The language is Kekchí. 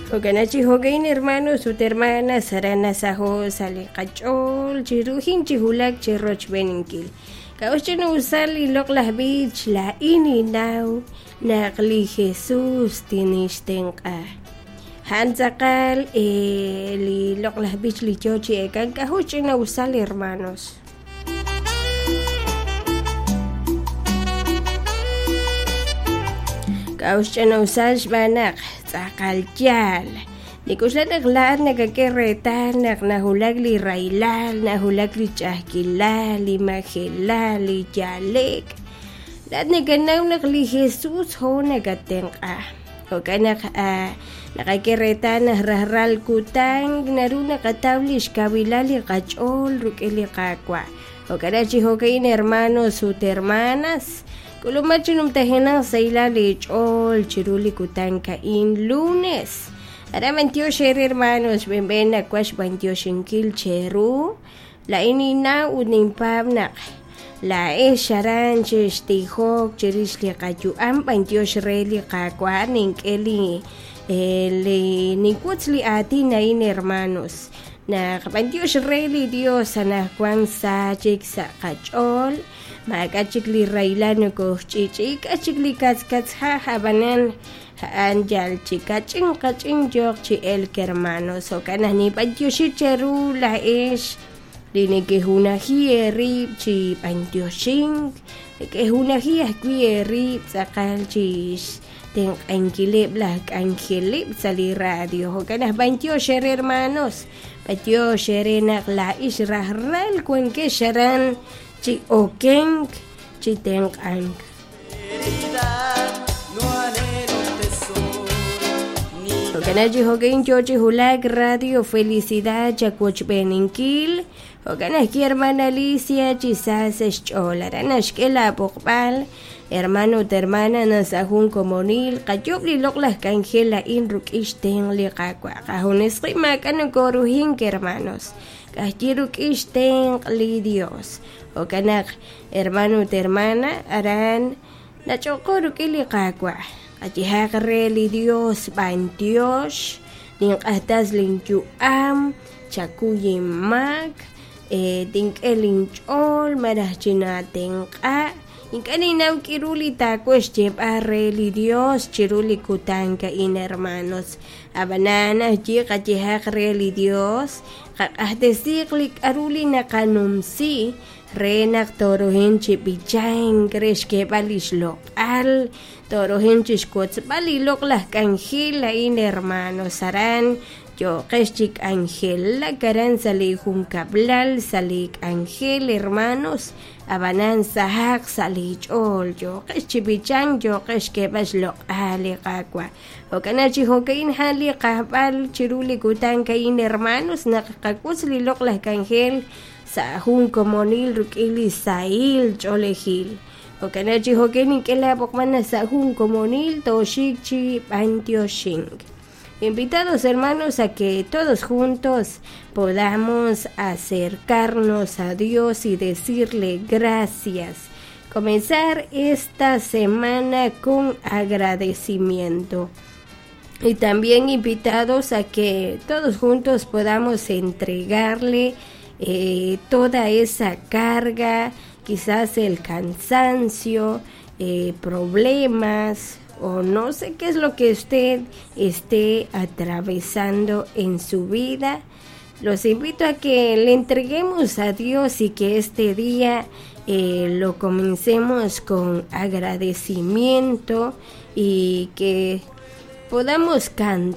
Jo'kan chi jo'ka'in hermanos ut hermanas aran nasaho' sa' li qach'ool chiruhin chi wulak chi rochb'eeninkil. K'a'ut ch'ina'usal li loq'laj b'ich laa'in ninnaw naq li Jesús tinixtenq'a. A'an tz'aqal li loq'laj b'ich li yoo chi eek'ank k'a'ut ch'ina'usal hermanos. K'a'ut xch'ina'usal xb'aan naq tz'aqal yaal. Nik'oxla naq laa'at nakak'e reetal naq nawulak li rahilal, nawulak li ch'a'ajkilal, li majelal, li yale'k. Laa'at nakanaw naq li Jesús jo nakatenq'a. Jo'kan naq naqak'e reetal naq rajlal kutan naru naqataw li xkawilal li qach'ool rik'in li Qaawa'. Jo'kan naq chi jo'ka'in hermanos ut hermanas, k'ulumaq chi numtajenaq sahilal eech'ool chiru li kutan ka'in lunes. Aran b'antiox eere hermanos, xb'een nawaj xb'antioxinkil cheru. Laa'in ninnaw ut ninpaab' naq laa'ex aran xextijok chirix li qayu'am b'antiox re li Qaawa' nink'e li li ninwotz li aatin a'in hermanos naq b'antiox re li Dios anaqwan sa chik sa' qach'ool maak'a' chik li rahilal nokooxch'i'ch'i'i k'a' chik li katzkatzjaj ab'anan a'an yal chi kach'in kach'in yooq chi elk hermanos jo'kan naq ninb'antioxi cheru laa'ex li nekejunaji eerib' chi b'antioxink nekejunaji ajwi' eerib' tz'aqal chi xtenq'ankileb' laj k'anjeleb' sa' li radio jo'kan naq b'antiox eere hermanos b'antiox eere naq laa'ix rajlal wankex aran chi okenk chi tenq'ank. Jo'kan chi jo'ka'in yoo chi wulak Radio Felicidad chawochb'eeninkil jo'kan ajwi' hermana Alicia chi sa sa' xch'ool aran naxk'e laab'oqb'al hermano ut hermana naq sa' jun komonil qayoob' li loq'laj k'anjel a'in rik'in xtenq' li Qaawa' qajunes qib' maak'a' nokoruhink hermanos k'ajyi rik'in xtenq' li Dios jo'kan naq hermano ut hermana aran nach'oqo rik'in li Qaawa' qayehaq re li Dios b'antiox ninq'ajtas linyu'am chakuy inmaak tink'e linch'ool malaj chinaatenq'a ink'a' ninnaw k'iru li taawaj xyeeb'al re li Dios chiru li kutan a'in hermanos ab'anan ajyi qayehaq re li Dios qaq'axtesiiq li k'aru li naqanumsi re naq tooruhin chi b'ichank re xk'eeb'al li xloq'al tooruhin chi xwotzb'al li loq'laj k'anjel a'in hermanos aran yooqex chi k'anjelak aran sa' li junkab'lal sa' li k'anjel hermanos ab'anan sahaq sa' li ch'ool yooqex chi b'ichank yooqex xk'eeb'al xloq'al li Qaawa' jo'kan naq chi jo'ka'in a'an li qajb'al chiru li kutan a'in hermanos naq qawotz li loq'laj k'anjel sa' jun komonil rik'in li sahil ch'oolejil jo'kan naq chi jo'ka'in nink'e laab'oqb'al naq sa' jun komonil tooxik chi b'antioxink. Invitados hermanos a que todos juntos podamos acercarnos a Dios y decirle gracias. Comenzar esta semana con agradecimiento. Y también invitados a que todos juntos podamos entregarle toda esa carga, quizás el cansancio, problemas o no sé qué es lo que usted esté atravesando en su vida. Los invito a que le entreguemos a Dios y que este día lo comencemos con agradecimiento y que podamos cantar.